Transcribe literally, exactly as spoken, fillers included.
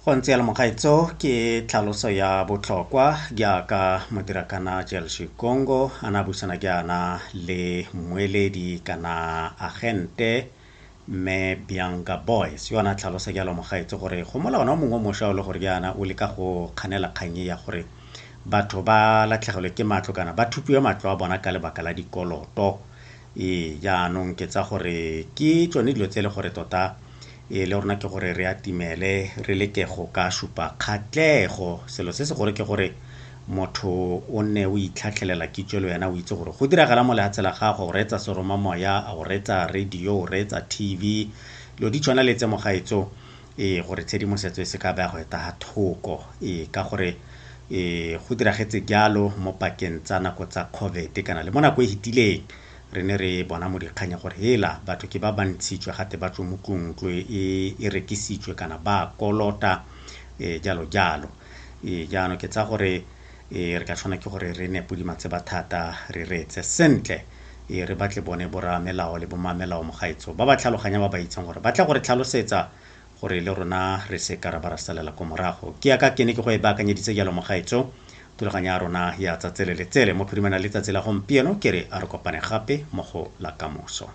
Go ntse jalo mogaetso, ke tlhaloso ya botlhokwa jaaka modirakana Jel Shikongo a ne a buisana jaana le mmueledi kana agente mme Bianca Boys yo a ne a tlhalosa jalo mogaetso gore go molawana o mongwe o mošwa o le gore jaana o leka go kganela kgang e ya gore batho ba latlhegelwe ke matlo kana ba thupiwe matlo a bona ka lebaka la dikoloto. Ee, jaanong ke tsa gore ke tsone dilo tse e le gore tota e le rona ke gore re atimele re leke go ka supa kgatlhego. Selo se se gore ke gore motho o nne o itlhatlhelela kitso le wena o itse gore go diragala mo lehatshe la gago, o reetsa seromamoya, o reetsa radio, o reetsa T V, dilo di tshwana le tse mogaetso, ee gore tshedimosetso e se ka ba ya go eta thoko. Ee, ka gore ee go diragetse jalo mo pakeng tsa nako tsa COVID kana le mo nako e fetileng re ne re bona mo dikganyeng gore hela batho ke ba ba ntshitswe gate ba tswe mo tlong, ntlo e e rekisitswe kana ba kolota e jalo jalo. Ee, jaanong ke tsaya gore e re ka tshwana ke gore re nne podimatseba thata, re reetse sentle, e re batle bone borra melao le bommamelao mogaetso ba ba tlhaloganya, ba ba itseng gore ba tla gore tlhalosetsa gore le rona re se ka ra ba ra salela ko morago. Ke yaka ke ne ke go e baakanyeditse jalo mogaetso thulaganyo ya rona ya tsatsi le letsele mo phirimana letsatsi la gompieno, ke re a re kopane gape mo go la kamoso.